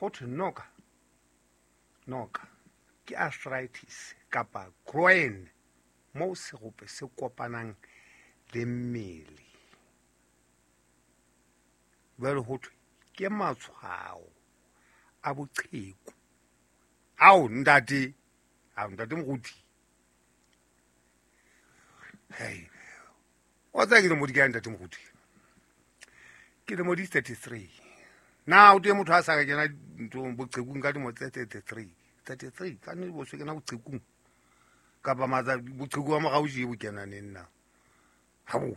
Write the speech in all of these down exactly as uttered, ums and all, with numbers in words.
Ho thwe noka noka ke arthritis kapa groin moo serope se kopanang le mmele. Jwale ho thwe ke matshwao a boqheku. Ao ntate, ao ntate moruti. Hei, o tseba ke lemo di kae ntate moruti? Ke lemo di thirty-three. Na o teng motho a sa ka kena nthong boqhekung ka dilemo tse thirty-three. thirty-three, ka nnete bo se kena boqhekung. Kapa matsa boqheku ba morao tje bo kena neng na? Habo.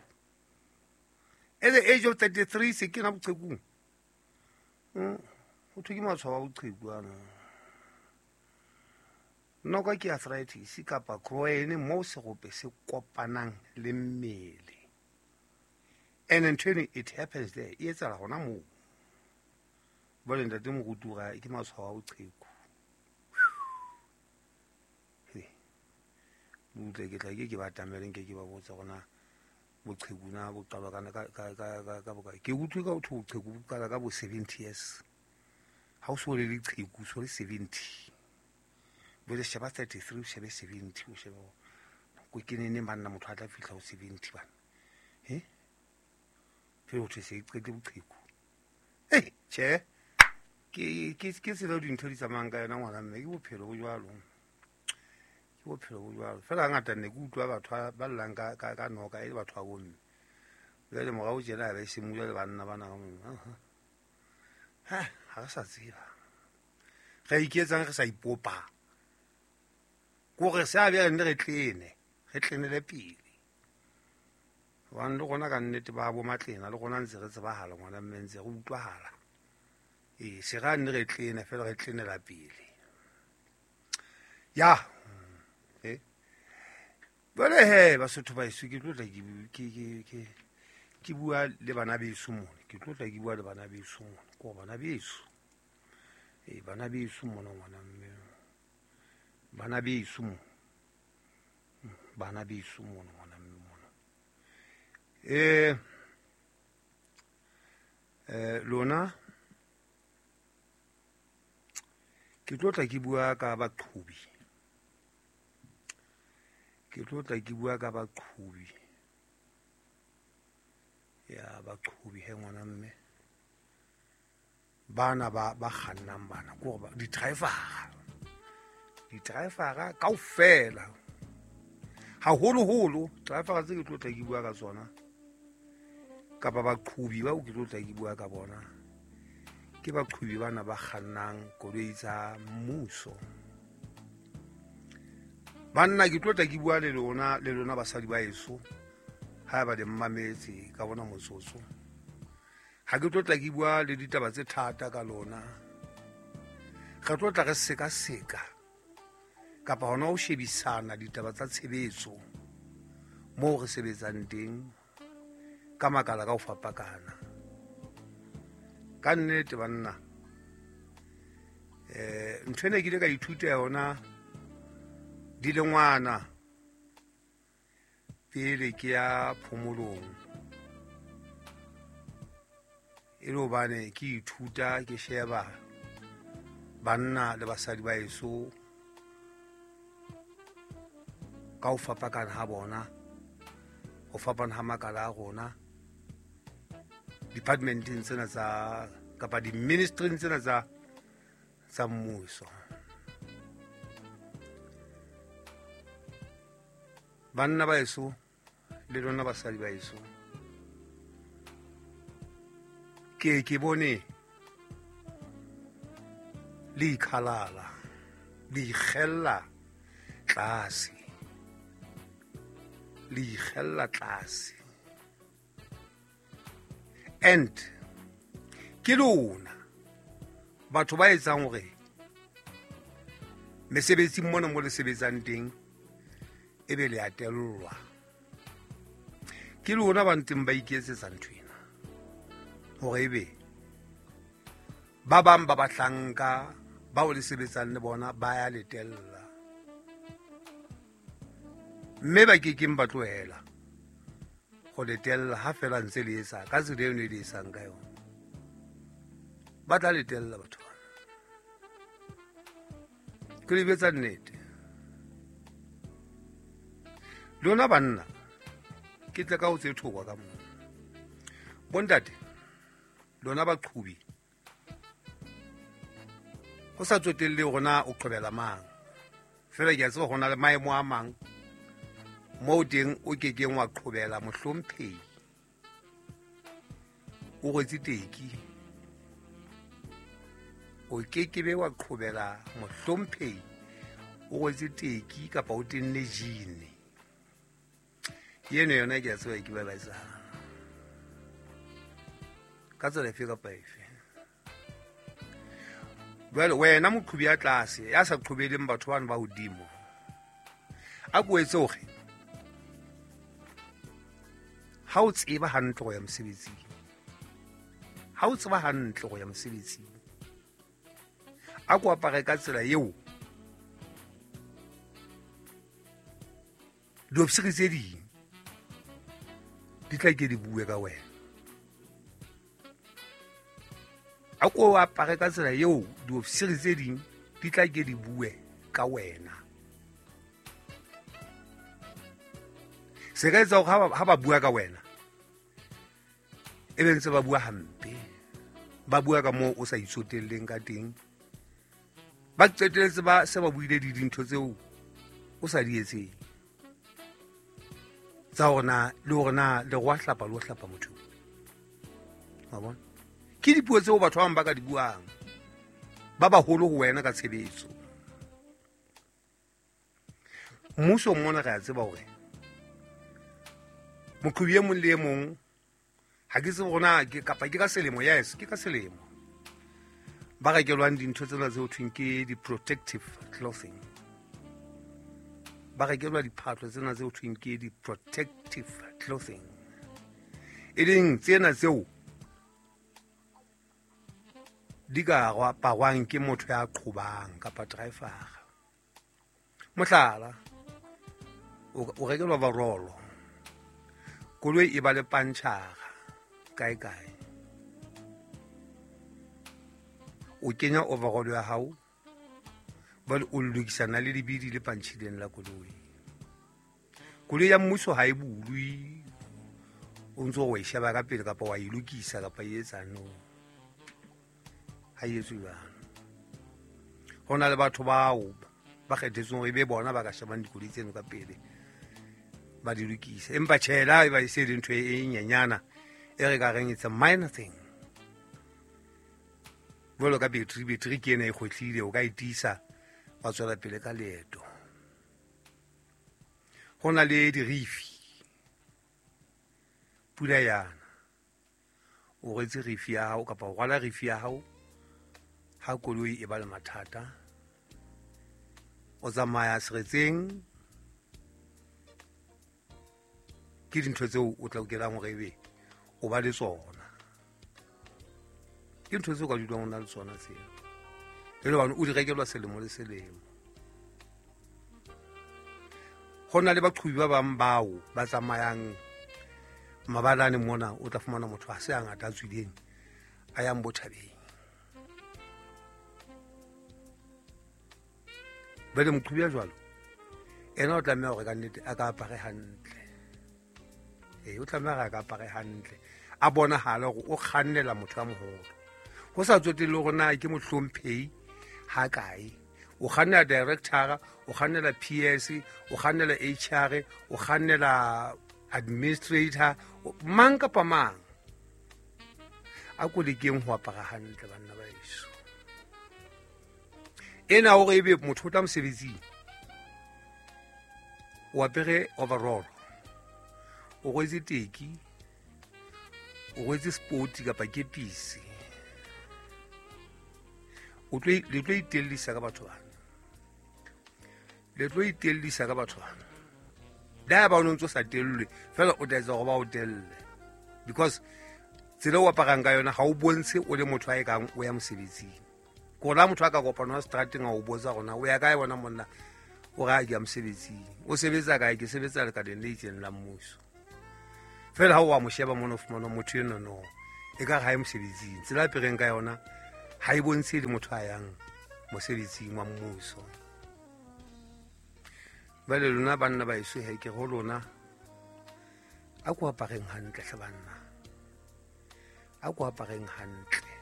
At the age of thirty-three se kena boqhekung. Mm, ho thwe ke matshwao a boqheku ana. Noka ke arthritis kapa groin moo serope se kopanang le mmele. And ntho eno it happens there, e etsahala hona moo. Jwale ntate moruti o re ke matshwao a boqheku. Butle ke tla ke ke ba atamele nke ke ba botsa hore na boqheku na bo qalwa ka ka ka ka ka bokae. Ke utlwe ka ho thwe boqheku bo qala ka bo seventy years. Ha o so le leqheku, o so le seventy. Jwale sheba thirty-three, o shebe seventy, o shebe hore ko ke neng banna motho a tla fihla ho seventy bana. He? Pele ho thwe se e qete boqheku. Eh, tjhe. Ke ke ke tsela eo dintho di tsamayang ka yona ngwana mme, ke bophelo bo jwalo. Ke bophelo bo jwalo. Feela hangata ne ke utlwa batho ba llang ka ka ka noka e le batho ba bomme. Jwale morao tjena ha ba e se jwale banna bana ka mona. Ha, ha re sa tseba. Re iketsang re sa ipopa. Kore se a bjale nne re tlene, re tlenele pele. Hobane le rona ka nnete ba bo matlena, le rona ntse re tsebahala ngwana mme ntse re utlwahala. Ee, se ra nne re tlene feela re tlenela pele. Ya. Eh. Jwale he Basotho ba heso ke tlo tla ke ke ke ke ke bua le bana beso mona. Ke tlo tla ke bua le bana beso mona. Ke hore bana beso. Ee, bana beso mona ngwana mme. Bana beso mona. Bana beso mona ngwana mme mona. Eh eh lona ke tlo tla ke bua ka baqhobi. Ke tlo tla ke bua ka baqhobi. Ya baqhobi he ngwana mme. Bana ba ba kgannang bana ke hore di-driver. Di-driver kaofela. Haholoholo driver tse ke tlo tla ke bua ka tsona kapa baqhobi bao ke tlo tla ke bua ka bona ke baqhobi bana ba kgannang koloi tsa mmuso. Banna ke tlo tla ke bua le lona le lona basadi ba heso ha ba le mmametse ka bona motsotso. Ha ke tlo tla ke bua le ditaba tse thata ka lona. Re tlo tla re sekaseka kapa hona ho shebisana ditaba tsa tshebetso moo re sebetsang teng ka makala ka ho fapakana. Ka nnete banna, eh ntho ena ke ile ka ithuta yona dilengwana pele ke ya phomolong. E le hobane ke ithuta ke sheba banna le basadi ba heso ka ho fapakana ha bona, ho fapana ha makala a rona departmenteng tsena tsa kapa di-ministry-ing tsena tsa tsa mmuso. Banna ba heso le lona basadi ba heso, ke ke bone le ikhalala, le ikgella tlase, le ikgella tlase. And ke lona batho ba etsang hore mesebetsing mona mo le sebetsang teng ebe le a tellwa. Ke lona ba ntseng ba iketsetsa ntho ena hore ebe ba bang ba bahlanka bao le sebetsang le bona ba ya le tella, mme ba kekeng ba tlohela ho le tella ha feela ntse le etsa ka tsela eno e le etsang ka yona. Ba tla le tella batho bana. Ke le betsa nnete. Lona banna ke tle ka ho tse thokwa ka moo. Bontate lona baqhubi ho sa tsotelle hore na o qhobela mang, fela ke a tseba hore na le maemo a mang moo teng o kekeng wa qhobela mohlomphehi o rwetse teki, o kekebe wa qhobela mohlomphehi o rwetse teki kapa o tenne jean. Yeno yona ke a tseba ke ba ba etsang ka tsela efe kapa efe. Jwale wena moqhobi ya tlase ya sa qhobeleng batho bano ba hodimo, a ko etse hore ha o tseba hantle ho ya mosebetsing, ha o tseba hantle ho ya mosebetsing, a ko apare ka tsela eo diofisiri tse ding di tla ke di bue ka wena. A ko apare ka tsela eo diofisiri tse ding di tla ke di bue ka wena. Se ka etsa hore ha ba bua ka wena e be ntse ba bua hampe, ba bua ka moo o sa itsotelleng ka teng, ba qetelletse ba se ba buile di dintho tseo o sa di etseng tsa hore na le hore na le go hlapa le ho hlapa motho. Wa bona, ke dipuo tseo batho ba bang ba ka di buang ba baholo ho wena ka tshebetso. Mmuso mona re a tseba hore moqhobi e mong le e mong, ha ke tsebe hore na ke kapa ke ka selemo, yes ke ka selemo, ba rekelwang dintho tsena tse ho thweng ke di-protective clothing, ba rekelwa diphahlo tsena tse ho thweng ke di-protective clothing, e leng tsena tseo di ka aparwang ke motho ya qhobang kapa driver. Mohlala, o rekelwa overall, koloi e ba le pantšhara kae kae, o kenya overall ya hao, ba o lokisana le lebidi le pantšhileng la koloi. Koloi ya mmuso ha e bulwe, o ntso o e sheba ka pele kapa wa e lokisa kapa e etsa no, ha e etswe jwalo. Ho na le batho bao ba kgethetsweng hore e be bona ba ka shebang dikoloi tseno ka pele ba di lokise, empa tjhe la e ba e se le ntho e nyenyana e re ka reng it's a minor thing. Jwalo ka battery, battery ke ena e kgwetlile, o ka e tiisa wa tswela pele ka leeto. Ho na le dirifi, pula yana o rwetse rifi ya hao kapa o rwala rifi ya hao ha koloi e ba le mathata, o tsamaya seretseng, ke dintho tseo o tla lokelang hore ebe o ba le tsona. Ke ntho tseo ka dulang o na le tsona tseo, e le hobane o di rekelwa selemo le selemo. Ho na le baqhobi ba bang bao ba tsamayang mabalane mona, o tla fumana motho a se a ngata a tswileng a yang bothabeng. Bele moqhobi ya jwalo ena o tlameha hore ka nnete a ka apare hantle. Ee, o tlameha hore a ka apare hantle, a bonahale hore o kgannela motho a moholo, ho sa tsotelle hore na ke mohlomphehi ha kae. O kgannela director, o kgannela P S, o kgannela H R, o kgannela administrator, mang kapa mang. A ko lekeng ho apara hantle banna ba heso. Ena hore ebe motho o tla mosebetsing, o apere overall, o rwetse teki, o rwetse sport kapa kepisi, o tlo le tlo itellisa ka batho bana, le tlo itellisa ka batho bana. Da ba o ntso sa tellwe fela, o tla etsa hore ba o telle, because tsela o aparang ka yona ha o bontshe o le motho a e kang o ya mosebetsing. Ko la motho a ka kopana strateng a o botsa rona o ya kae bona monna, o ra ke ya mosebetsing, o sebetsa kae? Ke sebetsa lekaleng le itseng la mmuso. Fela ha o wa mo sheba mona o fumana motho eno no e ka ha e mosebetsing, tsela a apereng ka yona ha e bontshe le motho a yang mosebetsing wa mmuso. Jwale lona banna ba eso he ke ho lona a ko apareng hantle hle banna, a ko apareng hantle,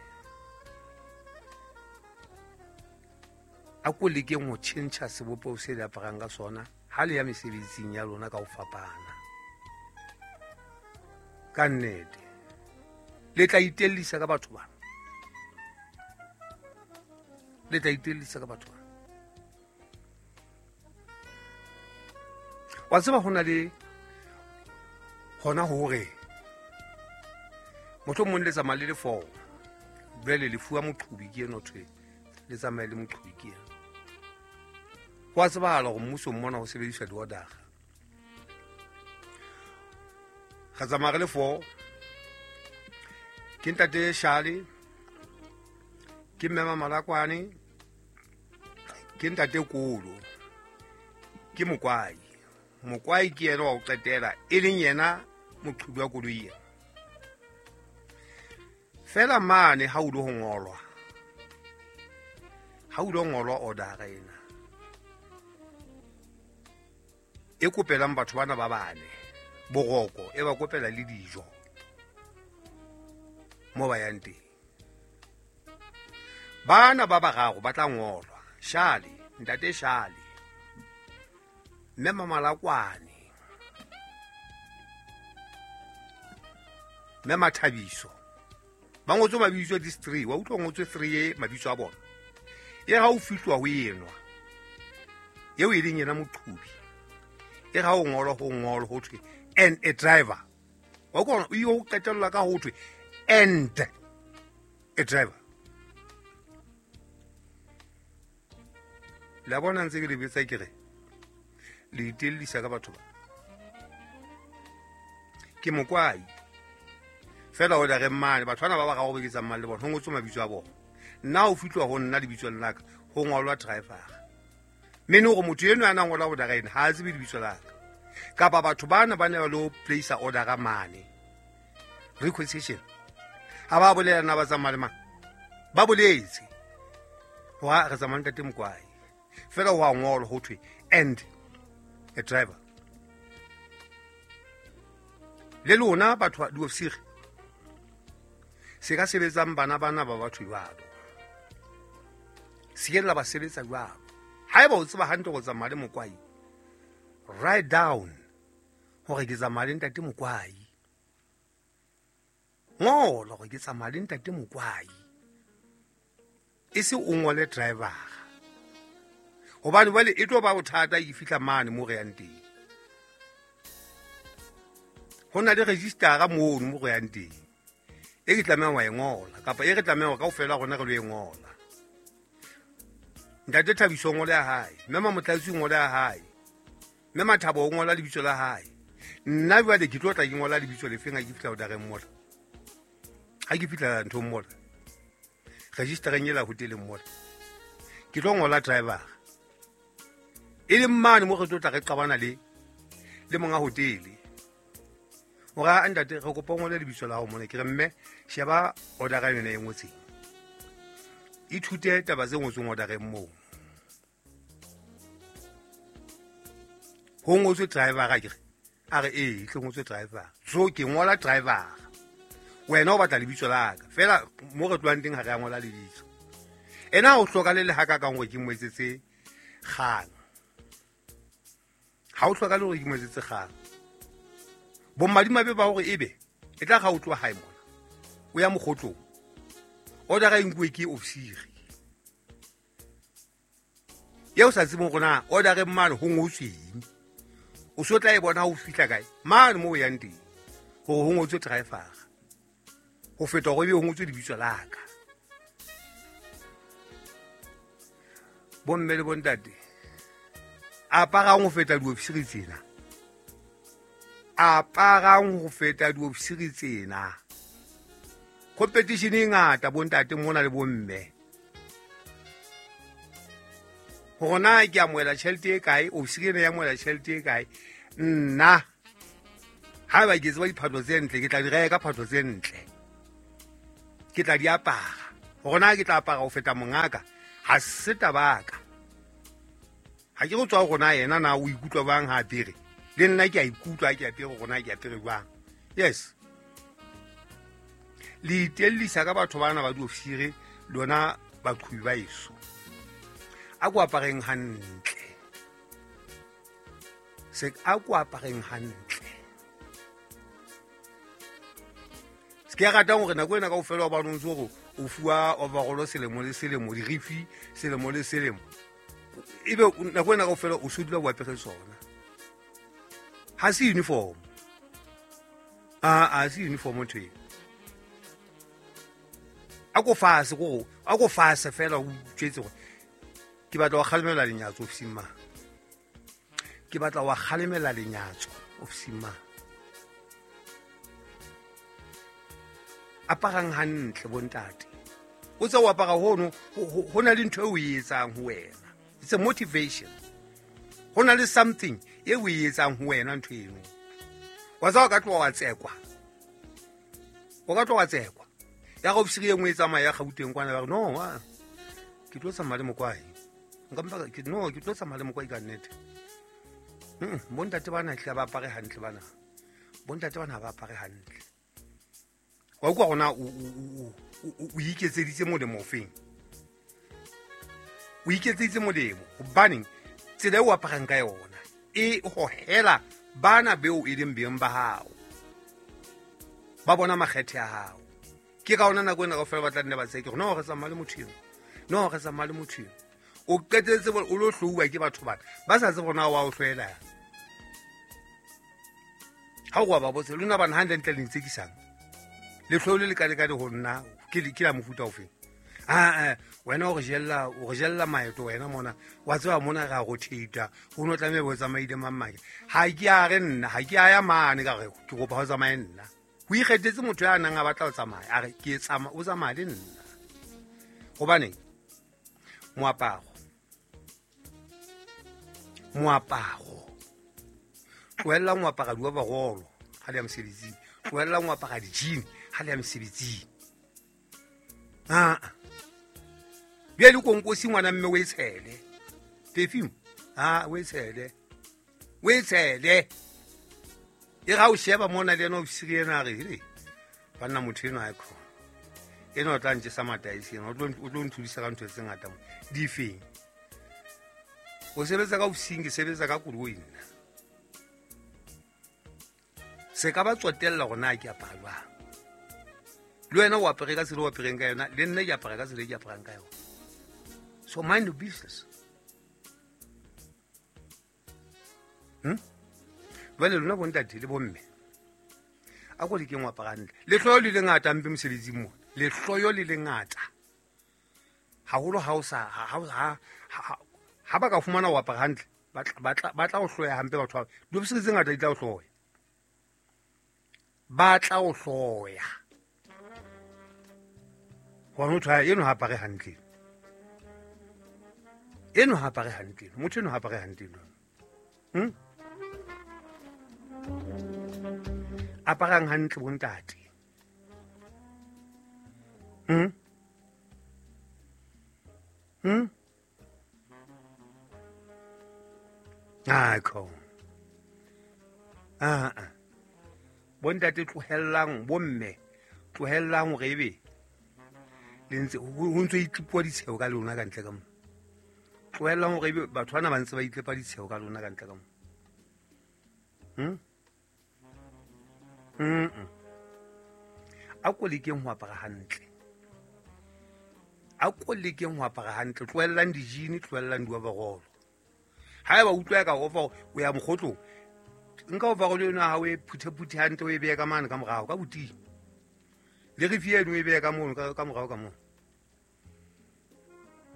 a ko lekeng ho tjhentjha sebopeho se le aparang ka sona ha le ya mesebetsing ya lona ka ho fapana. Ka nnete le tla itellisa ka batho bana, le tla itellisa ka batho bana. Wa tseba ho na le hona hore mohlomong le tsamaya le le four, jwale le fuwa moqhubi ke eno thwe le tsamaye le moqhubi ke eno. Ho a tsebahala hore mmusong mona ho sebediswa di-order-a. Re tsamaya re le four, ke ntate Shale, ke mme Mamalakwane, ke ntate Kolo, ke Mokwai. Mokwai ke yena wa ho qetela, e leng yena moqhubi wa koloi ena. Feela mane ha o lo ngolwa, ha o lo ngolwa order ena e kopelang batho bana ba bane boroko, e ba kopela le dijo mo ba yang teng. Bana ba bararo ba tla ngolwa, Shale, ntate Shale, mme Mamalakwane, mme Mathabiso. Ba ngotswe mabitso these three, wa utlwa ngotswe three e mabitso a bona. E ha o fihlwa ho enwa eo e leng yena moqhubi, e ha o ngolwa ho ngolwa ho thwe and a driver. Wa utlwa o yo qetella ka ho thwe and a driver. La bona ntse ke le betsa ke re le itellisa ka batho ba. Ke Mokwai fela o re mane batho bana ba ba gago beketsa mmang le bona ho ngotswe mabitso a bona. Nna o fihlwa ho nna lebitso la ka ho ngolwa driver. Mene hore motho eno a na ngola order ena ha a tsebe lebitso la ka. Kapa batho bana ba ne ba lo place order mane requisition, ha ba bolela na ba tsamaya le mang, ba boletse hore re tsamaya ntate Mokwai, fela ho a ngolwa ho thwe and a driver. Le lona batho diofisiri se ka sebetsang bana bana ba batho jwalo, se ke la ba sebetsa jwalo. Haeba o tseba hantle go tsamaya le Mokwai, write down hore ke tsamaya le ntate Mokwai. Ngola hore ke tsamaya le ntate Mokwai, e se o ngole driver, hobane jwale e tlo ba bothata e fihla mane mo re yang teng. Ho na le registera mono mo re yang teng e ke tlameha wa e ngola, kapa e re tlameha kaofela rona re lo e ngola. Ntate Thabiso o ngola ya hae, mme Mamotlatsi o ngola ya hae, mme Mathabo o ngola lebitso la hae. Nna jwale ke tlo tla ke ngola lebitso lefeng ha ke fihla ordereng mola, ha ke fihla nthong mola, registereng ela hoteleng mola, ke tlo ngola driver. E leng mane mo re tlo tla re qabana le le monga hotele hore a ntate re kopa o ngole lebitso la hao mona. Ke re mme sheba order yona e ngotseng, ithute taba tse ngotsweng ordereng moo. Ho ngotswe driver, a ke re a re ee tle ngotswe driver, so ke ngola driver. Wena o batla lebitso la ka fela, mo re tlohang teng ha re a ngola lebitso. Ena o hloka le le ha ka kang hore ke mo etsetse kgang, ha o hloka le hore ke mo etsetse kgang. Bomadimabe ba hore ebe e tla ga o tloha hae mona o ya mokgotlong, order e nkuwe ke ofisiri eo sa tsebeng hore na order mane ho ngotsweng. O so tla e bona ha o fihla kae mane mo o yang teng hore ho ngotswe driver, ho feta hore ebe ho ngotswe lebitso la ka. Bomme le bontate, aparang ho feta diofisiri tsena, aparang ho feta diofisiri tsena. Competition e ngata bontate mona le bomme. Hore na ke amohela tjhelete e kae, ofisiri ena ya amohela tjhelete e kae. Nna haeba ke tseba diphahlo tse ntle, ke tla di reka phahlo tse ntle, ke tla di apara. Hore na ke tla apara ho feta mongaka, ha se tabaka. Ha ke go tswa gona yena na o ikutlwa bang ha apere le nna ke a ikutlwa ke apere gona ke apere jwang. Yes, le itellisa ka batho bana ba diofisiri lona baqhubi ba eso. A ko apareng hantle, se a ko apareng hantle. Se ke ratang hore nako ena kaofela ba no ntse hore o fuwa overall selemo le selemo, dirifi selemo le selemo, ebe nako ena kaofela o so dula o apere sona. Ha se uniform, a a se uniform ntho eo. A ko fase go a ko fase fela o tjetse gore ke batla wa kgalemela lenyatso ofising ma, ke batla wa kgalemela lenyatso ofising ma. Aparang hantle bontate, o tsa o apara hono ho na le ntho e o e etsang ho wena. It's a motivation. Ho na le something e o e etsang ho wena ntho eno. Wa tsa o ka tloha wa tsekwa, o ka tloha wa tsekwa ya go ofisiri e nngwe e tsamaya ya Gauteng kwana ba re no a ke tlo tsamaya le mokwai, nka mpa ke no ke tlo tsamaya le mokwai ka nnete. Bontate bana hle ba apare hantle bana, bontate bana ba apare hantle. Wa utlwa gona o o iketseditse molemo ofeng, o iketseditse molemo hobaneng tsela e o aparang ka yona e hohela bana beo e leng beng ba hao, ba bona makgethe a hao. Ke ka ona nako ena kaofela ba tla nne ba tseke no re tsamaya le motho eno, no re tsamaya le motho eno. O qetetse o lo hlouwa ke batho bana ba sa tsebe bona wa o hloela. Ha o ba botse lona bana hantle ntle le ntsekisang le hloile le kalekane ho nna ke ke la mofuta ofeng. Ah eh wena o re jella o re jella maeto wena mona wa tseba mona re a rotate ho no tlameha bo tsamaile mamake. Ha ke a re nna ha ke a ya mane ka re ke kopa ho tsamaye nna. Ho ikgethetse motho ya nang a batla ho tsamaya a re ke tsamaya o tsamaya le nna. Hobaneng moaparo moaparo tlohella moapara di-overall ha le ya mosebetsing, tlohella moapara di-jean ha le ya mosebetsing. Ah bjale konkosi ngwana mme o e tshele perfume, ah o e tshele o e tshele e ga o sheba mona le ena ofisiri ena a re hele banna motho eno ha e khona ena o tla ntjesa mataesi ena o tlo nthudisa ka ntho tse ngata mo difeng. O sebetsa ka ofising, ke sebetsa ka koloi nna. Se ka ba tsotella hore na ke apara jwang. Le wena o apere ka tsela o apereng ka yona, le nna ke apara ka tsela e ke aparang ka yona. So mind your business. Hmm? Jwale lona bontate le bomme a ko lekeng o apara hantle. Lehloyo le lengata mpe mosebetsing mona, lehloyo le lengata haholo ha o sa ha ha ba ka fumana o apara hantle ba tla ba tla o hloya hampe batho ba diofisiri tse ngata di tla o hloya, ba tla o hloya hobane motho eno ha apare hantle, eno ha apare hantle, motho eno ha apare hantle. Hmm? Aparang hantle bontate. Hmm? Hmm? Ah, ko. Ah, ah. Bontate tlohellang bomme, tlohellang hore ebe le ntse ho ntse itlipuwa ditsheo ka lona ka ntle ka mo. Tlohellang hore ebe batho bana ba ntse ba itlepa ditsheo ka lona ka ntle ka mo. Hmm? Mm. A ko lekeng ho apara hantle. A ko lekeng ho apara hantle, tlohellang di-jean, tlohellang di-overall. Haeba utlwa ka over o ya mokgotlong, nka overall eno ha o e phutheputhe hantle o e behe ka mane ka morao ka boting. Le rifi eno o e behe ka mono ka morao ka mono.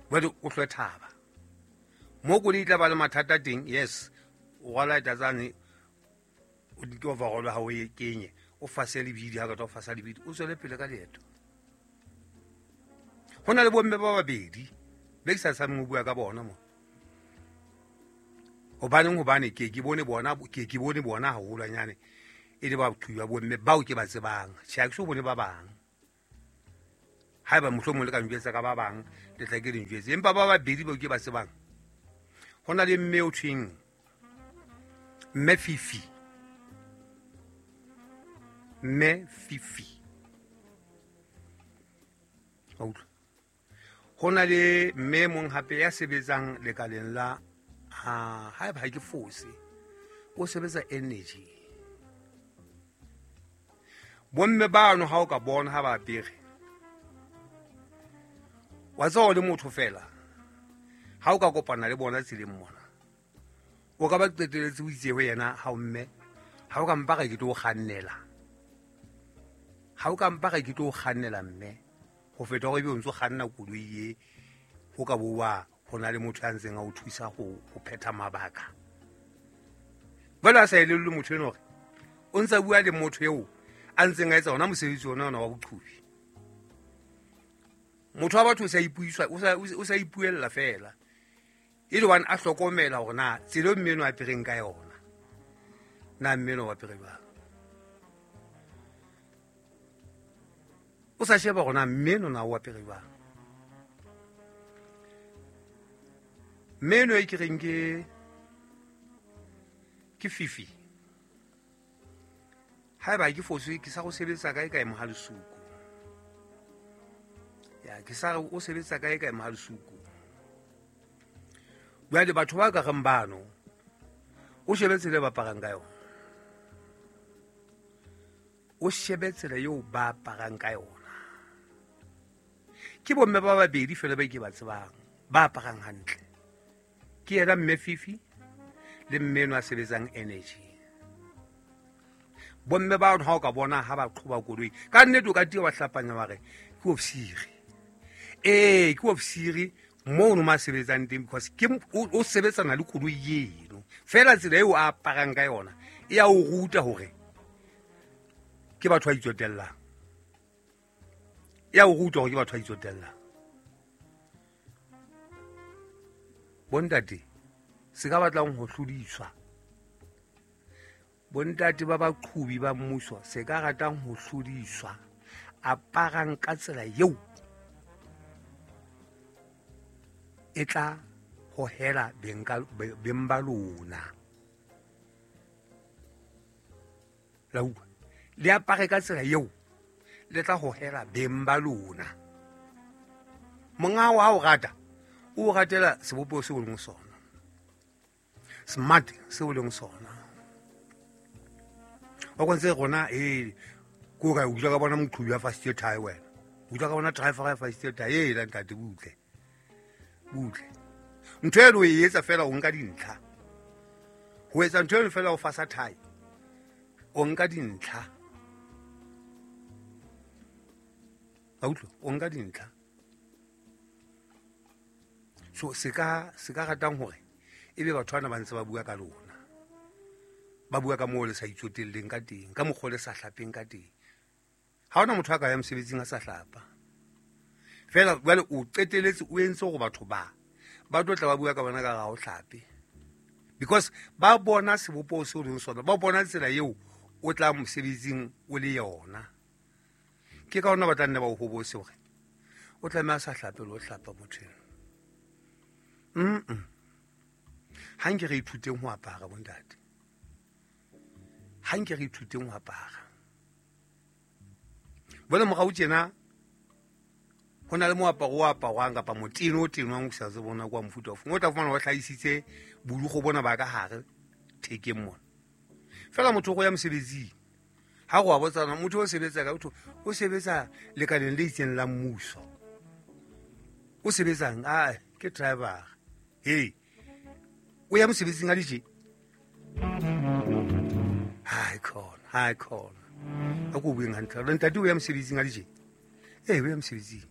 Jwale o hlwe thaba. Mo koloi e tla ba le mathata teng, yes, o rwala tsane o di overall ha o e kenye, o fase lebidi ha ka o fasa lebidi, o tswele pele ka leeto. Ho na le bomme ba babedi be ke sa tshabeng ho bua ka bona mo. Hobaneng hobane ke ke bone bona ke ke bone bona haholwanyane e le batho ba bomme bao ke ba tsebang. Tjhe, ha ke so bone ba bang. Haeba mohlomong le ka njwetsa ka ba bang, le tla ke le njwetse. Empa ba babedi bao ke ba tsebang. Ho na le mme o thweng Mme Fifi. Mme Fifi. Wa utlwa? Ho na le mme mong hape ya sebetsang lekaleng la ha haeba ha ke fose, o sebetsa energy. Bomme bano ha o ka bona ha ba apere, wa tseba o le motho fela, ha o ka kopana le bona tseleng mona, o ka ba qeteletse o itse ho yena, ha o mme, ha o ka mpa re ke tlo o kgannela. Ha o ka mpa re ke tlo o kgannela mme, ho feta hore ebe o ntso kganna koloi e, ho ka bo wa ho na le motho ya ntseng a o thusa ho, ho phetha mabaka. Jwale a sa elellwe motho enwa hore o ntsa bua le motho eo a ntseng a etsa ona mosebetsi ona ona wa boqhubi. Motho wa batho o sa ipuiswa, o sa, o sa ipuella fela. E le hobane a hlokomela hore na tsela eo mme enwa a apereng ka yona, na mme enwa o apere jwang. O sa sheba hore na mme enwa na o apere jwang. Mme enwa e ke reng ke, ke Fifi. Haeba ke foswe, ke sa go sebetsa kae kae Mohalesuku. Ya, ke sa re o sebetsa kae kae Mohalesuku. Jwale batho ba ka reng bano, o shebe tsela e ba aparang ka yona. O shebe tsela eo ba aparang ka yona. Ke bomme ba babedi fela ba ke ba tsebang, ba aparang hantle. Ke yena mme Fifi le mme enwa a sebetsang energy. Bomme ba ha o ka bona ha ba qhoba koloi, ka nnete o ka tia wa hlapanya wa re ke ofisiri. Ee, ke ofisiri mono ma sebetsang teng, because ke m-, o, o sebetsana le koloi eno. Fela tsela eo a aparang ka yona e a o ruta hore ke batho ba itsotellang. E a o ruta hore ke batho ba itsotellang. Bontate, se ka batlang ho hlodiswa. Bontate ba baqhubi ba mmuso, se ka ratang ho hlodiswa, aparang ka tsela eo e tla hohela beng ka, be-, beng ba lona. La utlwa? Le apare ka tsela eo le tla hohela beng ba lona. Monga wa o rata, o ratela sebopeho seo o leng sona, smart seo o leng sona. Wa kontse rona, eh, ko ka utlwa ka bona moqhubi wa fasitse thae wena. Utlwa ka bona driver ya fasitse thae, eh, la ntate butle. Butle. Ntho eno o e etsa fela o nka dintlha. Ho etsa ntho eno fela o fasa thae, o nka dintlha. Wa utlwa? O nka dintlha. So se ka, se ka ratang hore ebe batho bana ba ntse ba bua ka lona. Ba bua ka moo le sa itsotelleng ka teng, ka mokgwa le sa hlapeng ka teng. Ha hona motho a ka ya mosebetsing a sa hlapa. Fela jwale o qeteletse o entse hore batho ba, ba tlo tla ba bua ka bona ka ha o hlape. Because ba bona sebopeho seo o leng sona, ba bona tsela eo o tla mosebetsing o le yona. Ke ka hona ba tla nne ba o hobose hore o tlameha a sa hlape le ho hlapa motho eno. Mm-mm. Ha nke re ithuteng ho apara bontate. Ha nke re ithuteng ho apara. Bona morao tjena ho na le moaparo o aparwang kapa moteno o tenwang o sa tsebe bona kwa mofuta ofe. O tla fumana ba hlahisitse bolukgo bona ba ka hare thekeng mona. Fela motho o ya mosebetsing, ha go a botsana motho o sebetsa ka motho o sebetsa lekaleng le itseng la mmuso. O sebetsang? Ah, ke driver. Hey, o ya mosebetsing a le tje? Hai khona, hai khona. A ko bueng hantle. Re ntate o ya mosebetsing a le tje? Eh, o ya mosebetsing.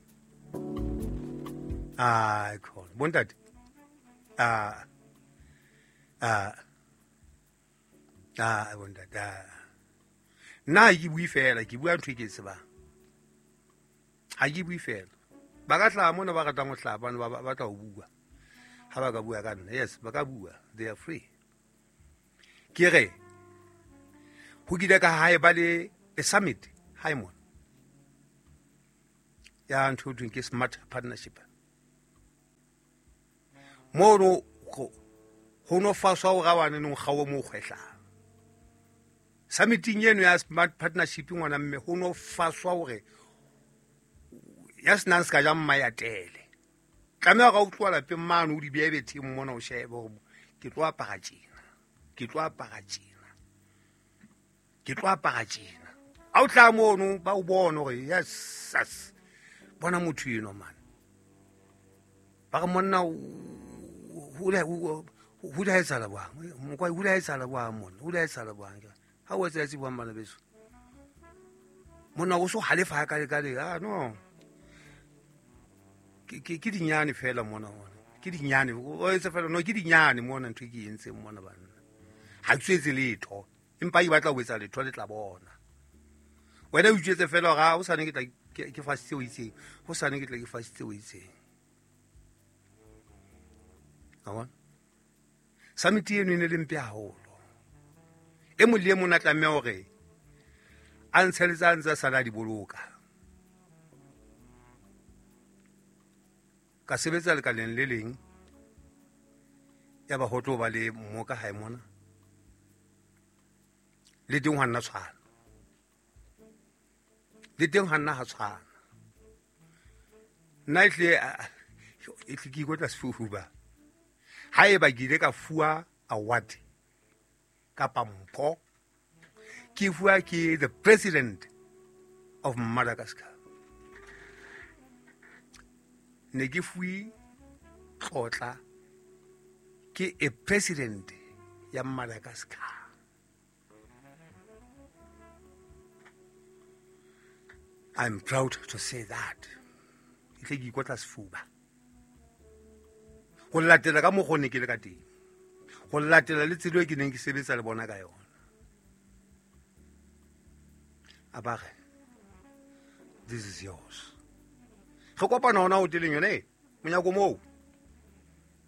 Hai khona. Bontate. Ah. Ah. Ah, bontate. Ah. Nna ha ke bue fela, ke bua ntho e ke e tsebang. Ha ke bue fela. Ba ka hlaha mona ba ratang ho hlaha, bana ba, ba, ba tla ho bua. Ha ba ka bua ka nna, yes, ba ka bua. They are free. Ke re, ho kile ka hae ba le a summit hae mona. Ya ntho e thweng ke smart partnership. Mono go, Ho no faswa o rawane nong kgawo mo kgwehlang. Summiting eno ya smart partnership ngwana mme ho no faswa hore ya senang se ka ja mma ya tele. Tlameha ga o tloa lapeng mane o di behe betheng mona o shebe hore ke tlo apara tjena, ke tlo apara tjena, ke tlo apara tjena. Ha o tla mono ba o bone hore yes, yes, bona motho eno man. Ba re monna ho la etsahala bang, mokwa ho la etsahala bang monna, ho la etsahala bang. Ha o etsa tse buang bana beso. Monna o so halefa ha ka le ka le, ah no. Ke ke ke dinyane fela mona hona. Ke dinyane, o etsa fela no ke dinyane mona ntho e ke entseng mona banna. Ha ke tswetse letho, empa e batla ho etsa letho le tla bona. Wena o itswetse fela hore ha o sane ke tla ke fasitse o itseng, ho sane ke tla ke fasitse o itseng. Ka bona? Summit eno e ne le mpe haholo. E mong le e mong a tlameha hore a ntsheletse a ntse a sala di boloka. Ka sebetsa lekaleng le leng, ya ba ho tlo ba le mmoka hae mona. Le teng hwa nna tshwana. Le teng hwa nna ha tshwana. Nna e tle e tle ke ikotla sefuba. Haeba ke ile ka fuwa award kapa mpho, ke fuwa ke the president of Madagascar. Ne ke fuwe tlotla ke a president ya Madagascar. I'm proud to say that. E tle ke ikotla sefuba. Ho latela ka mokgwa ne ke le ka teng. Ho latela le tsela e ke neng ke sebetsa le bona ka yona. A ba re, this is yours. Re kopana hona hoteleng yone e, monyako moo.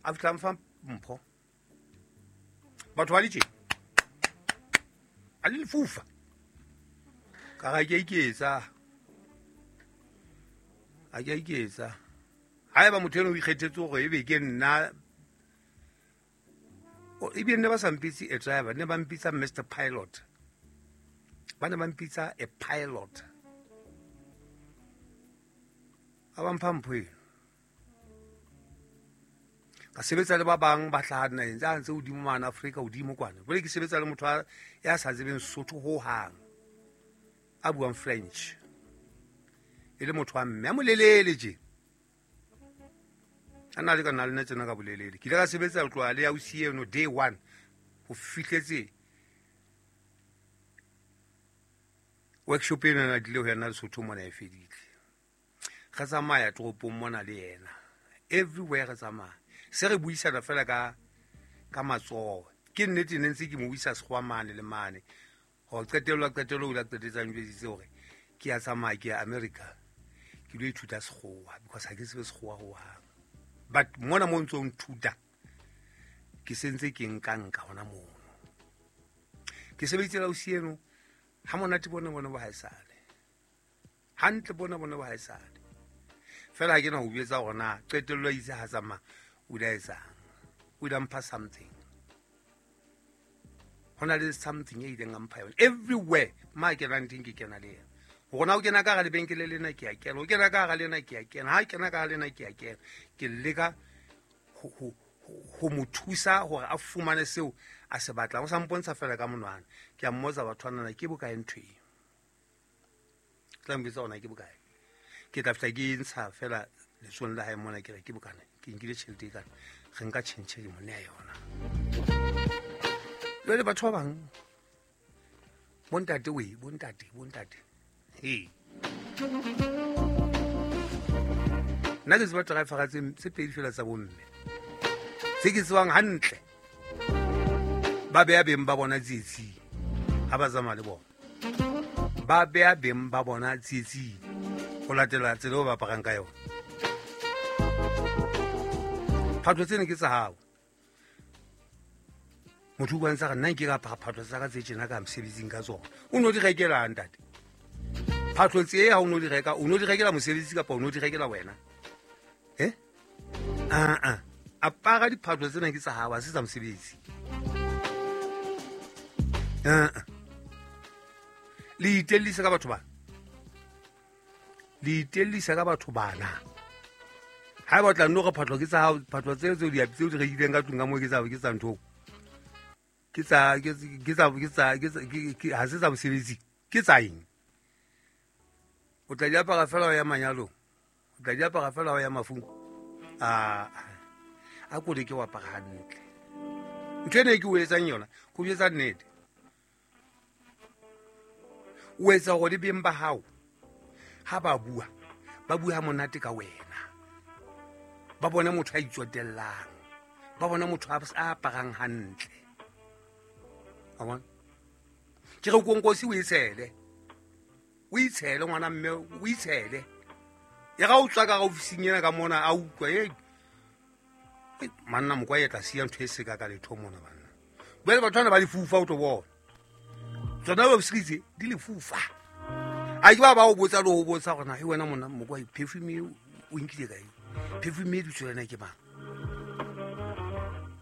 A fihla mfa mpho. Batho ba le tje. A le lefufa. Ka ra ke a iketsa. A ke a iketsa. Haeba motho eno o ikgethetse hore ebe ke nna, ebile ne ba sa mpitse a driver, ne ba mpitsa Mister Pilot. Ba ne ba mpitsa a pilot. A ba mpha mpho eno. Ka sebetsa le ba bang ba hlaha dinaheng tsa ntse hodimo mane Afrika hodimo kwana. Jwale ke sebetsa le motho ya sa tsebeng Sotho ho hang, a buang French. E le motho wa mme a molelele tje. A na le ka nna le nna tsena ka bolelele. Ke ile ka sebetsa ho tloha le ausi eno day one ho fihletse workshop ena na tlile ho yena Lesotho mona e fedile. Re tsamaya toropong mona le yena. Everywhere re tsamaya. Se re buisana fela ka ka matsoho. Ke nnete ne ntse ke mo buisa sekgowa mane le mane. Ho qetellwa qetello o la qetetsang jwetsitse hore ke ya tsamaya ke ya America. Ke lo ithuta sekgowa because ha ke tsebe sekgowa ho hang. But mona mo ntso nthuta ke sentse ke nka nka hona mono. Ke sebeditse la ausi eno ha monate bona bona ba haesale. Hantle bona bona ba haesale. Fela ha ke na ho buetsa hore na qetello itse ha tsamaya o la etsang. O la mpha something. Hona le something e ileng a mpha yona. Everywhere ma ke kenang teng ke kena le yena. Hore na o kena ka hara lebenkele lena ke a kena, o kena ka hara lena ke a kena, ha kena ka hara lena ke a kena. Ke leka ho ho ho mo thusa hore a fumane seo a se batlang. O sa mpontsha fela ka monwana. Ke a mmotsa batho bana ke bokae ntho eo. Tla mpitsa hona ke bokae. Ke tla fihla ke ntsha fela letsong la hae mona ke re ke bokana. Ke nkile tjhelete e kana. Re nka tjhentjhe ke mo neha yona. Jwale batho ba bang bontate we, bontate, bontate. Hey. Nna ke tseba driver tse tse pedi fela tsa bomme. Tse ke tsebang hantle. Ba beha beng ba bona tsietsing ha ba tsamaya le bona. Ba beha beng ba bona tsietsing ho latela tsela eo ba aparang ka yona. Phatlo tsena ke tsa hao. Motho o bontsha re nna nke ka apara phatlo tsa ka tse tjena ka mosebetsing ka tsona. O no di rekela ntate. Phatlo tse ha o no di reka, o no di rekela mosebetsi kapa o no di rekela wena? Eh? Ah ah. Apara Apara diphahlo tsena ke tsa hao, ha se tsa mosebetsi. Eh. Le itellisa ka batho bana. Le itellisa ka batho bana. Ha ba tla nno re phahlo ke tsa hao, phahlo tseo tseo di tseo di rekileng ka tlung ka moo ke tsa ke tsa ntho. Ke tsa ke tsa ke tsa ke ha se tsa mosebetsi, ke tsa eng? O tla di apara fela ho ya manyalong. O tla di apara fela ho ya mafung. A a ko le ke wa apara hantle. Ntho ena e ke o etsang yona, ko etsa nnete. O etsa hore le beng ba hao ha ba bua, ba bua monate ka wena. Ba bona motho a itsotellang, ba bona motho a aparang hantle. Wa bona? Ke re konkosi o itshele. O itshele ngwana mme, o itshele. Ya ga o tswa ka ofising ena ka mona a utlwa e manna mokwa e tla siya ntho e seka ka letho mona banna. Bjale batho bana ba lefufa o tlo bona. Tsona ba bositse di lefufa. A ke ba ba o botsa le ho botsa hore na e wena mona mokwa perfume o nkile kae? Perfume di tswela ke mang?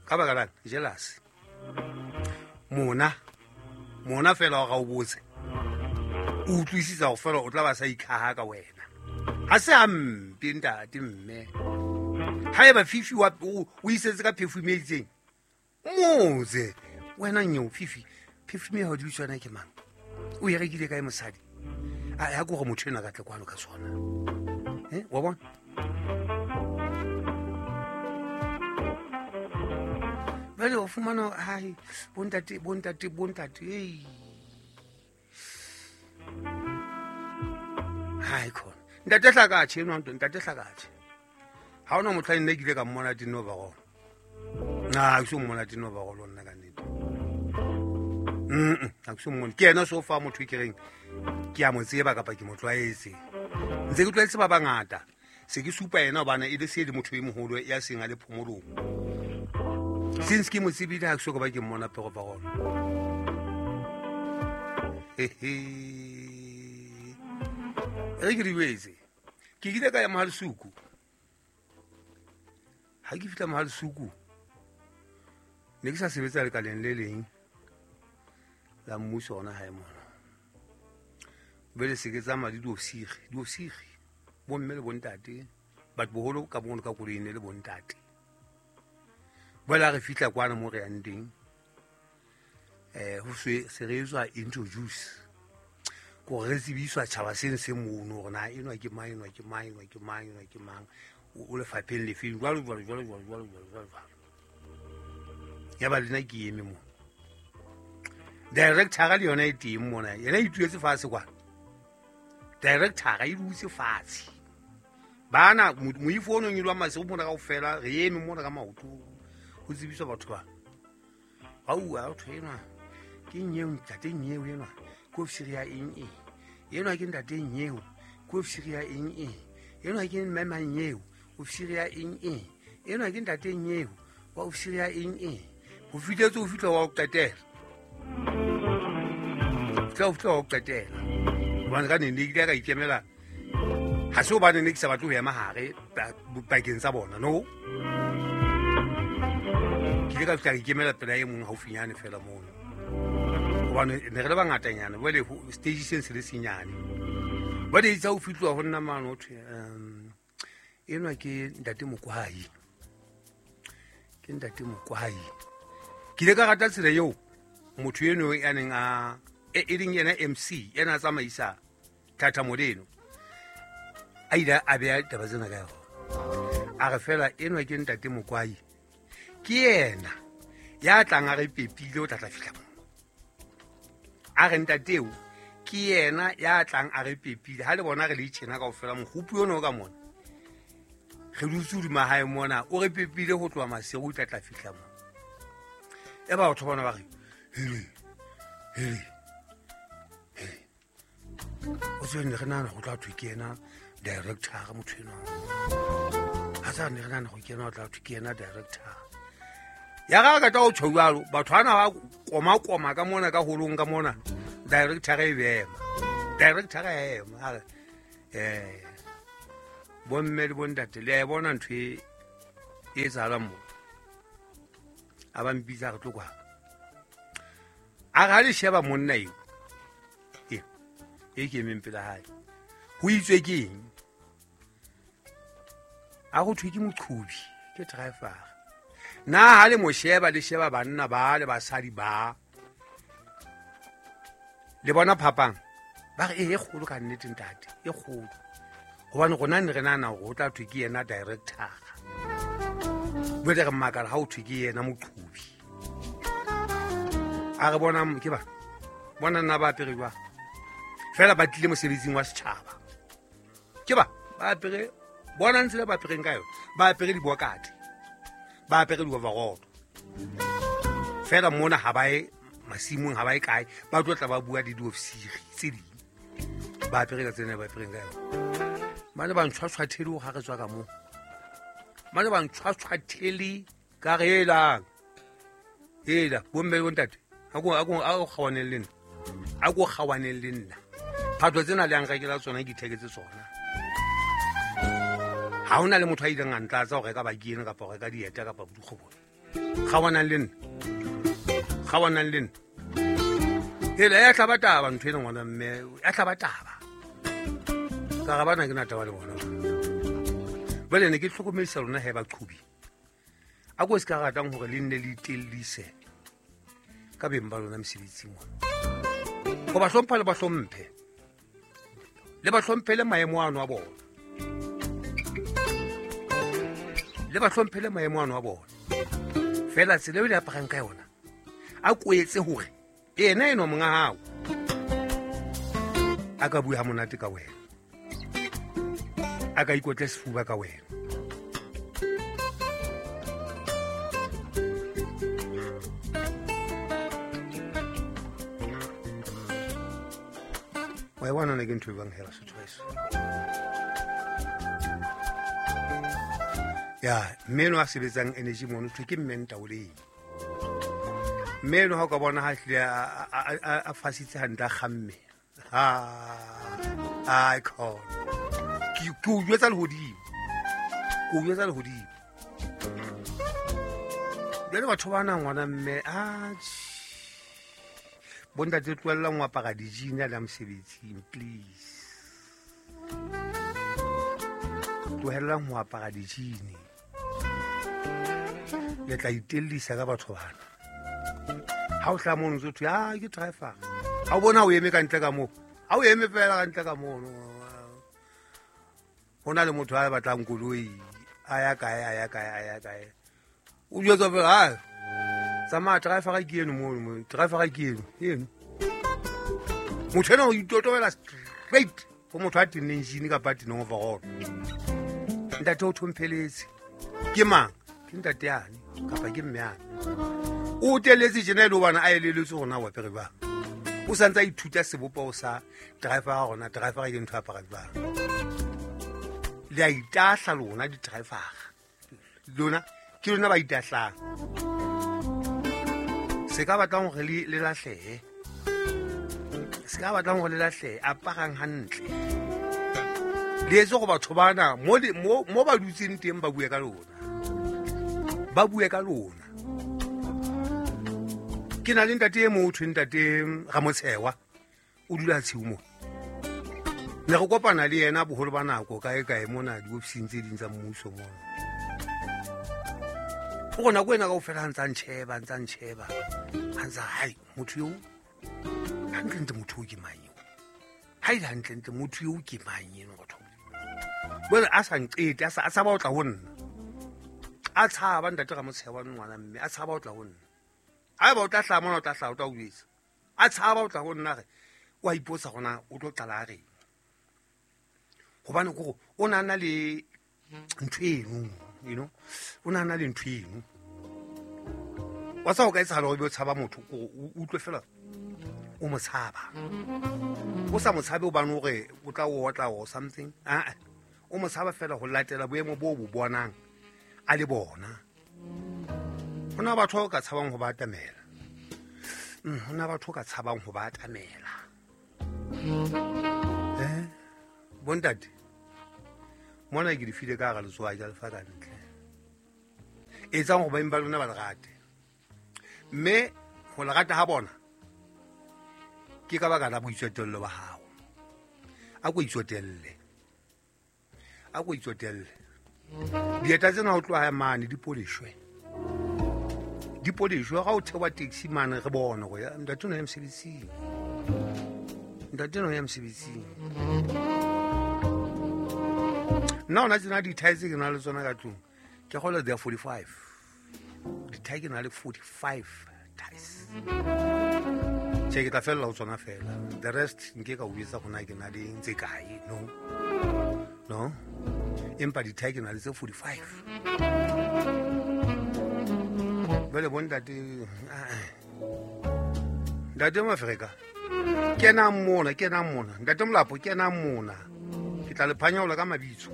Ka baka lang jealous. Mona mona fela ga o botse. O utlwisisa go fela o tla ba sa ikhaha ka wena. Ha se hampe ntate mme. Haeba Fifi wa o isetse ka perfume e itseng. Motse wena nyeo Fifi perfume ya ho di tswana ke mang? O e rekile kae mosadi? A ya go motho ena ka tle kwano ka sona. Eh, wa bona? Bale o fumana hai bontate bontate bontate ei. Hai khona. Ntate Hlakatjhe eno ntate Hlakatjhe. Ha ona motho a nne ke ile ka mmona tino ba gona. Na ke so mmona tino ba gona nna ka nnete. Mm, ha ke so mmone. Ke ena so fa motho ke reng ke a mo tseba kapa ke mo tlwaetse. Ntse ke tlwaetse ba bangata. Se ke supa yena hobane e le se le motho e moholo ya seng a le phomolong. Since ke mo tsebile ha ke so ka ba ke mmona pego ba gona. Hehe. Re ke diwetse. Ke ile ka ya Mohalisuku. Ha ke fihla Mohalisuku ne ke sa sebetsa lekaleng le leng la mmuso ona hae mona. Bele se ke tsamaya le diofisiri, diofisiri bomme le bontate, batho boholo ka bono ka koloing le bontate. Bala re fihla kwana mo re yang teng. Eh ho se se re tswa introduce. Ko re tsebiswa tjhaba seng se mono hore na enwa ke mang, enwa ke mang, enwa ke mang, enwa ke mang. O lefapheng lefeng jwalo jwalo jwalo jwalo jwalo jwalo jwalo. Ya ba lena ke eme mo. Director le yona e teng mona. Yena e ituletse fatshe kwa. Director e dutse fatshe. Bana moifo ono nyilwa mase o mona kaofela re eme mona ka maoto ho tsebiswa batho ba. Aua o thwenwa. Ke nyeo ntate nyeo enwa. Ke ofisiri ya eng eng. Enwa ke ntate nyeo. Ke ofisiri ya eng eng. Enwa ke mme nyeo. Ofisiri ya eng eng. Enwa ke ntate nyeo. Wa ofisiri ya eng eng. Ho fihletse ho fihla wa ho qetela. Fihla ho fihla wa ho qetela. Hobane ka nene ke ile ka ikemela. Ha se hobane ne ke sa batle ho ema hare pakeng tsa bona, no. Ke ile ka fihla ka ikemela pela e mong haufinyane fela mono. Hobane ne re le bangatanyana, jwale stage seng se le senyane. Bale itse ho fihluwa ho nna mane ho thwe um enwa ke ntate Mokwai. Ke ntate Mokwai. Ke ile ka rata tsela eo motho eno ya neng a e leng yena M C yena a tsamaisa thathamo leno. A ile a beha taba tsena ka yona. A re fela enwa ke ntate Mokwai. Ke yena ya tlang a re pepile o tla tla fihla mo. A re ntateo ke yena ya tlang a re pepile ha le bona re le itjena kaofela mogopi ono ka mona. Re dutse hodima hae mona o re pepile ho tloha masiu o tla tla fihla mo. E ba batho bona ba re hele hele hele. O tswe re nana go tla thwe ke yena director motho eno. Ha sa ne re nana go ke yena o tla thwe ke yena director. Ya ga ka tla o tjho jwalo batho ana ba koma koma ka mona ka holong ka mona director e bema. Director e ema a re eh bomme le bontate le a bona ntho e etsahalang mo. A ba mpitsa re tlo kwa. A ga le sheba monna eo. E. E ke emeng pela hae. Ho itswe ke eng? A go thwe ke moqhubi, ke driver. Na ha le mo sheba le sheba banna ba le basadi ba. Le bona phapang. Ba re e kgolo ka nnete ntate, e kgolo. Hobane rona ne re nahana hore o tla thwe ke yena director. Bjale re makala ha o thwe ke yena moqhubi. A re bona ke ba. Bona nna ba apere jwang. Fela ba tlile mosebetsing wa setjhaba. Ke ba ba apere bona ntse ba apereng ka yona. Ba apere dibokate. Ba apere di-overall. Fela mona ha ba ye masimong ha ba ye kae, ba tlo tla ba bua le diofisiri tse ding. Ba apere ka tsena ba apereng ka yona. Ba ne ba ntshwatshwathele ho ha re tswa ka moo. Ba ne ba ntshwatshwathele ka re elang. Ela bomme le bontate. A ko a ko a o kgawaneng le nna. A ko kgawaneng le nna. Phatlo tsena le yang rekela tsona ke itheketse tsona. Ha hona le motho a ileng a ntlatsa ho reka baki ena kapa ho reka dieta kapa bodikgobo. Kgawanang le nna. Kgawanang le nna. Ela ya hlaba taba ntho ena ngwana mme, ya hlaba taba. Ka re bana ke na taba le bona. Jwale ne ke hlokomedisa lona he baqhubi. A ko se ka ratang hore le nne le itellise ka beng ba lona mosebetsing mona. Ho ba hlompha le ba hlomphe. Le ba hlomphele maemo ano a bona. Le ba hlomphele maemo ano a bona. Fela tsela eo le aparang ka yona. A ko etse hore ena eno monga hao a ka bua ha monate ka wena. A ka ikotle sefuba ka wena. Wa bona ne ke ntho e bang hela setho eso. Ya, mme no a sebetsang energy mono thwe ke mme Ntaoleng. Mme no ha o ka bona ha hlile a fasitse hantle a kgamme. Ha ai khona. Ke ke o jwetsa lehodimo. Ke o jwetsa lehodimo. Jwale batho ba na ngwana mme a bontate tlohellang ho apara di-jean a le mosebetsing please. Tlohellang ho apara di-jean. Le tla itellisa ka batho bana. Ha o hla mono ntso thwe ah ke driver. Ha o bona o eme ka ntle ka moo. Ha o eme fela ka ntle ka mono. Ho na le motho a batlang koloi a ya kae a ya kae a ya kae. O jwetsa fela ha tsamaya driver ke eno mono, driver ke eno, eno. Motho ena o itotobela straight ho motho a tenneng jean kapa a tenneng overall. Ntate o thompheletse. Ke mang? Ke ntate yane kapa ke mme yane. O teletse tjena e le hobane a eleletswe hore na o apere jwang. O sa ntse a ithuta sebopeho sa driver hore na driver ke ntho e apara jwang. Le a itahla lona di-driver. Lona ke lona ba itahlang. Se ka batlang hore le le lahlehe. Se ka batlang hore le lahlehe, aparang hantle. Le etse hore batho bana mo mo mo ba dutseng teng ba bue ka lona. Ba bue ka lona. Ke na le ntate e motho ntate Ramotshewa o dula tshiu mo. Ne re kopana le yena boholo ba nako kae kae mona diofising tse ding tsa mmuso mona. O rona ko ena kaofela ha ntsa ntjheba, ntsa ntjheba. Ha ntsa hai motho eo hantlentle motho o ke mang eo? Ha ile hantlentle motho eo ke mang eno batho? Jwale a sa nqete, a sa a tshaba ho tla ho nna. A tshaba ntate Ramotshewa ngwana mme, a tshaba ho tla ho nna. Haeba o tla hlaha mona o tla hlaha o tla o jwetsa. A tshaba ho tla ho nna re o a ipotsa hore na o tlo qala a reng. Hobane kore o na na le ntho eno, you know, o na na le ntho eno. Wa tseba ho ka etsahala hore ebe o tshaba motho kore o utlwe fela o mo tshaba. O sa mo tshabe hobane hore o tla o otla or something. Ah, o mo tshaba fela ho latela boemo bo bo bonang a le bona. Ho na batho ba ka tshabang ho ba atamela. Ho na batho ka tshabang ho ba atamela. Eh? Bontate. Mona ke di file ka hara letswai ka lefa ka ntle. Etsang hore beng ba lona ba le rate. Mme ho le rata ha bona ke ka baka la boitsotelo ba hao. A ko itsotelle. A ko itsotelle. Dieta tsena ho tloha mane di polishwe. Di polishwe ga o thewa taxi mane re bone go ya ntate no ya mosebetsing. Ntate no ya mosebetsing. Nna ona tsena di-tie tse ke na le tsona ka tlung. Ke kgolwa they are forty-five. Di-tie ke na le forty-five ties. Tjhe, ke tla fella ho tsona fela. The rest nke ka o etsa gona ke na le ntse kae, no. No. Empa di-tie ke na le tse forty-five. Jwale bo ntate, ntate Mafereka, kenang mona, kenang mona. Ntate Molapo, kenang mona. Ke tla le phanyaola ka mabitso.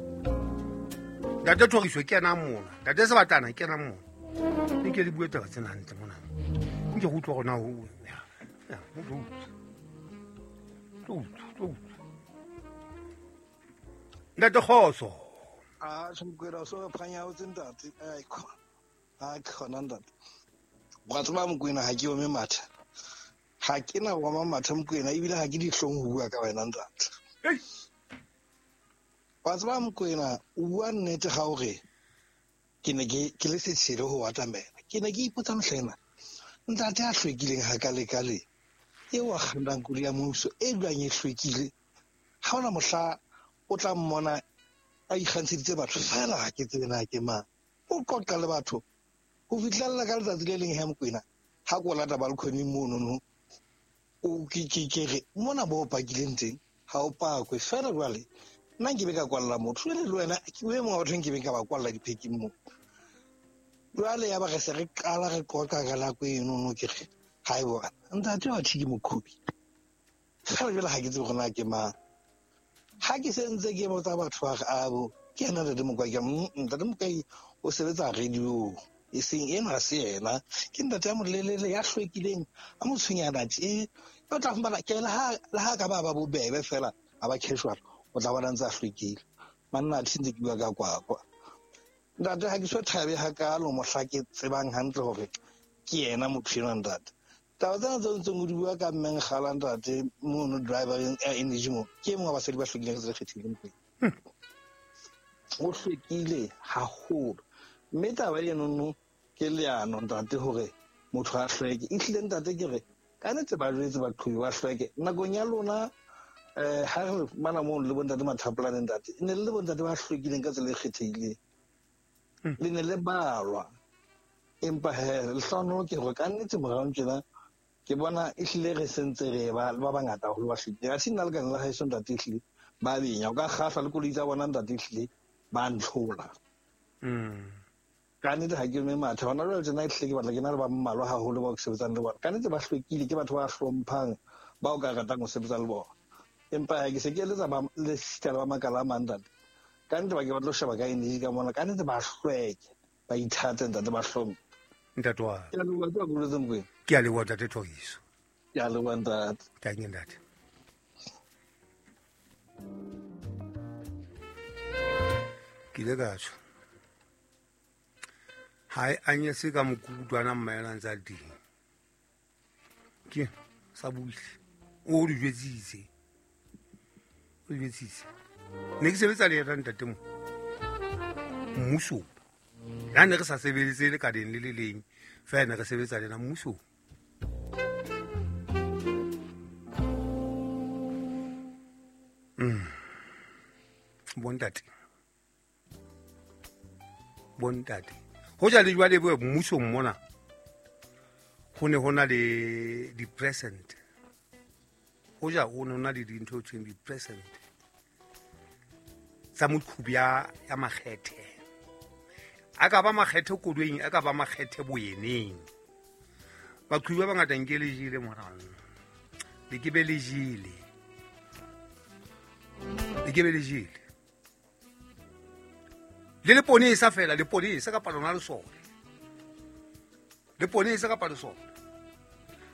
Ntate Thoriso, kenang mona. Ntate Sebatana, kenang mona. Nke le bue taba tsena hantle mona. Nke go utlwa gona ho. Ya, ho tlo utlwa. Tlo utlwa, tlo utlwa. Ntate Kgotso. Ah, Mokwena so phanyaotse ntate. Ai khona. Ha khona ntate. Wa tseba Mokwena ha ke ome matha. Ha ke na wa matha Mokwena ebile ha ke dihlong ho bua ka wena ntate. Hey. Wa tseba Mokwena o bua nnete ga o re ke ne ke ke le setshelo ho atamela. Ke ne ke ipotsa mohlena. Ntate a hlwekileng ha ka le ka le. E wa kgannang koloi ya mmuso e dulang e hlwekile. Ha ona mohla o tla mmona a ikgantsheditse batho fela ha ke tsebe na ke mang. O qoqa le batho ho fihlella ka letsatsi le leng ha Mokwena ha ko lata balcony mono no o ke ke ke re mona bo pakileng teng ha o pakwe fela jwale nna nke be ka kwalla motho jwale le wena ke o e mongwe wa batho nke be ka ba kwalla diphekeng mo jwale ya ba re se re qala re qoqa ka nako eno no ke re ha e bona ntate wa thi ke mokhubi fela jwale ha ke tsebe gore na ke mang. Ha ke sentse ke botsa batho ba re abo ke ena ntate Mokwai ke ntate Mokwai o sebetsa radio e seng ena se yena ke ntate ya molelele ya hlwekileng a motshwenyana tje o tla fumana ke le ha le ha ka ba ba bobebe fela a ba casual o tla bona ntse a hlwekile manna a ntse ke bua ka kwakwa ntate ha ke so thabe hakalo mohla ke tsebang hantle hore ke yena motho enwa ntate. Taba tsena tse ntseng o di bua ka mmeng gala ntate mono driver energy mo ke mongwe wa basadi ba hlwekileng re kgethileng pele o hlwekile haholo mme taba eno no ke leano ntate hore motho a hlweke ehlile ntate ke re ka nnete ba jwetse baqhobi ba hlweke nakong ya lona eh ha re mana mono le bontate Mathapolane ntate ne le bontate ba hlwekileng ka tsela e kgethehileng le ne le balwa empa he lehlohonolo ke hore ka nnete morao tjena ke bona ehlile re sentse re ba ba bangata haholo ba hlwekile. Ha se nna lekane la haeso ntate ehlile ba benya o ka kgahla le koloi tsa bona ntate ehlile ba ntlhola ka nnete ha ke ome matha hona jwale tjena ehlile ke batla ke na le ba mmalwa haholo bao ke sebetsang le bona ka nnete ba hlwekile ke batho ba hlomphang ba o ka ratang ho sebetsa le bona empa ha ke se ke eletsa ba le sita le ba makala a mang ntate ka nnete ba ke ba tlo sheba ka energy ka mona ka nnete ba hlweke ba ithate ntate ba hlomphe ntate wa ke a leboha ke a boletse Mokwena ke a leboha ntate Thoriso ke a leboha ntate tanki ntate. Ke ile ka tjho ha e anyese ka mokudwana mmaela ntse a le teng ke sa buile o di jwetsitse o di jwetsitse ne ke sebetsa le yena ntate mo mmusong la ne re sa sebeletse le ka deng le le leng fela ne re sebetsa le na mmusong. Mm. Bontate bontate ho ja le jwale bo mmusong mona ho ne hona le di-present ho ja ho ne hona le dintho tse di-present tsa moqhubi ya ya makgethe a ka ba makgethe koloing a ka ba makgethe boyeneng baqhubi ba bangata nke le jele morao le ke be le jele le ke be le jele le leponesa fela leponesa kapa lona lesole leponesa kapa lesole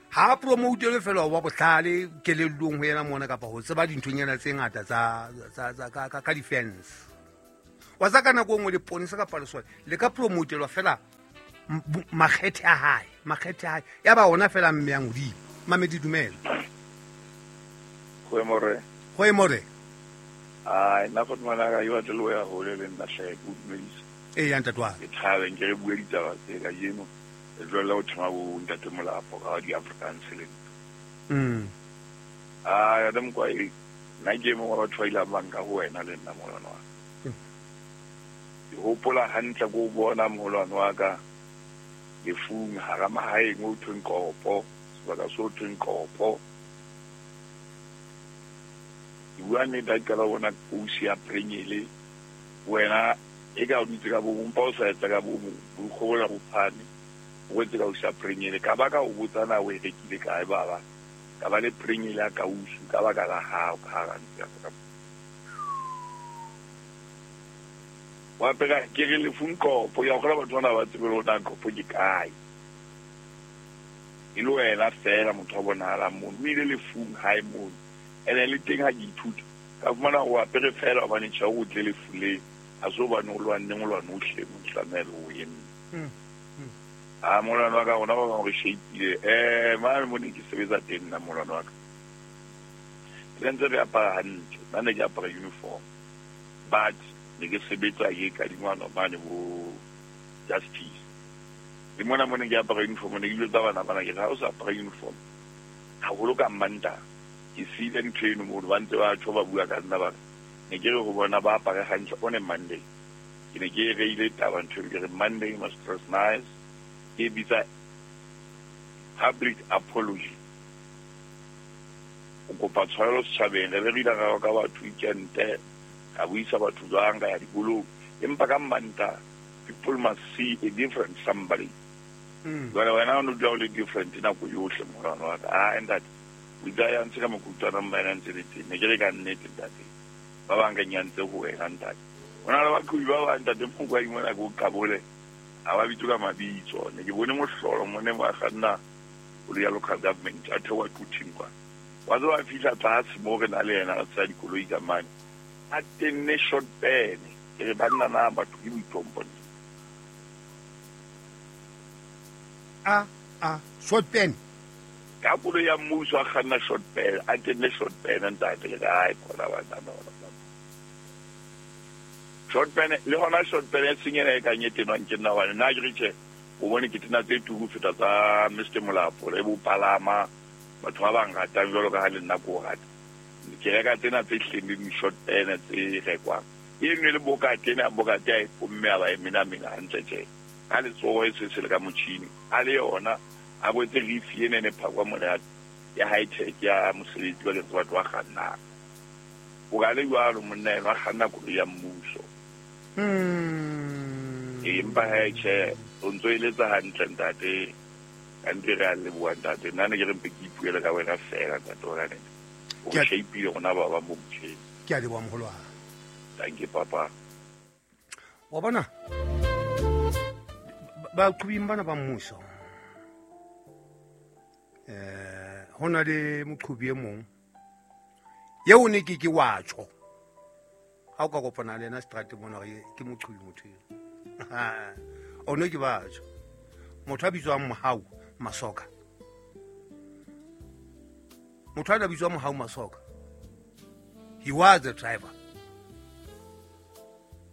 ha promote fela wa bohlale kelellong ho yena mona kapa ho tseba dinthonyana tse ngata tsa tsa ka ka defense wa tsa ka nako nngwe leponesa kapa lesole le ka promotelwa fela makgethe a hae Makgethe a hae ya ba ona fela mme yang hodimo. Mamedi dumela. Go more. Go more. Ai nna go tmana ka yo tle ya hole le nna hle go dumedisa. E ya ntate wa. Ke thabe nke re bue ditaba tse ka jeno. Re tlohella ho thoma bo ntate Molapo ka di Afrikaans le. Mm. Ah ya dem kwa e nna ke mo wa batho ba ile ba nka ho wena le nna molwana wa. Ke hopola hantle go bona molwana wa ka lefung hara mahaeng o thweng Kopo, sebaka so thweng Kopo. Ke bua nnete ha ke qala ho bona kousi ya Pringele, wena e ka o dutse ka bo mpa o sa etsa ka bo bokgobola bo phane, o etse kausi ya Pringele. Ka ba ka o botsa na o e rekile kae baba, ka ba le Pringele ya kausi ka baka la hao ka hara ntlo ya ka. Wa pega ke re lefung Kopo, ya kgona batho bana ba tsebe hore na Kopo ke kae. E le wena fela motho a bonahalang mono, o ile lefung hae mono. Ene le teng ha ke ithuta, ka fumana o apere fela hobane tjhe o tle lefu le, ha se hobane o lwanne, o lwane o hle mo tlamehile o eme. Ah molwana wa ka rona ba bang re shapeile. Eh mane mo ne ke sebetsa teng nna molwana wa ka. Re ntse re apara hantle, nna ne ke apara uniform. But ne ke sebetsa ke kadingwana mane bo justice. Le mona mo ne ke apara uniform, ne ke jwetsa bana bana ke re ha o sa apara uniform haholo ka Mantaha, ke siile ntho eno mono, ba ntse ba tjho ba bua ka nna ba re ne ke re ho bona ba apare hantle on a Monday. Ke ne ke reile taba ntho eno, ke re Monday must dress nice, ke bitsa public apology. O kopa tshwarelo setjhabeng, re be re ile ra ka batho weekend, ka buisa batho jwang ka ya dikolong, empa ka Mantaha people must see a different somebody. Jwale wena o no dula o le different nako yohle molwana wa ka. Ah ntate, o itse ya ntse ka makutlwana mma ena ntse le teng, ne ke re ka nnete ntate, ba bang ka nyantse ho wena ntate. Ho na le baqhobi ba bang ntate Mokwai mona ke o qabole, ha ba bitswe ka mabitso. Ne ke bone mohlolo mone mo a kganna koloi ya local government, a theoha Quthing kwa. Wa tseba a fihla tlase moo re na le yena re tsaya dikoloi ka mane, a tenne short pen. Ke re banna na batho ke boitlhompho. A a short pen ka koloi ya mmuso a kganna short pen, a tenne short pen ntate. Ke re ai khona banna no short pen le hona short pen e seng ena e kang e tenwang ke nna hobane nna ke re tjhe, o bone ke tena tse turu feta tsa Mister Molapo le bo palama batho ba bang ratang jwalo ka ha le nna ko rata. Ke reka tsena tse hleng le di-short pen tse rekwang. E nngwe le bokate ena, bokate a e pomme a ba e menamena hantle tjhe. Ka letsoho e se se le ka motjhini. A le yona a boetse rifi ena e ne phakwa mona ya high tech ya mosebetsi bakeng sa batho ba kgannang. O ka le jwalo monna enwa a kganna koloi ya mmuso. Empa he tjhe, o ntso eletsa hantle ntate. Ka ntle re a leboha ntate. Nna ne ke re mpe ke ipuele ka wena fela ntate wa ka nete. O Ke a- shapeile rona ba bang bo motjheng. Ke a leboha moholo wa ka. Thank you papa. Wa bona baqhobing bana ba mmuso, eh ho na le moqhobi e mong eo ne ke ke wa tjho ha o ka kopana le yena seterateng mona hore ke moqhobi motho eo. O ne ke ba tjho motho a bitswang Mohau Masoka, motho a bitswang Mohau Masoka, he was a driver,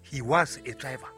he was a driver.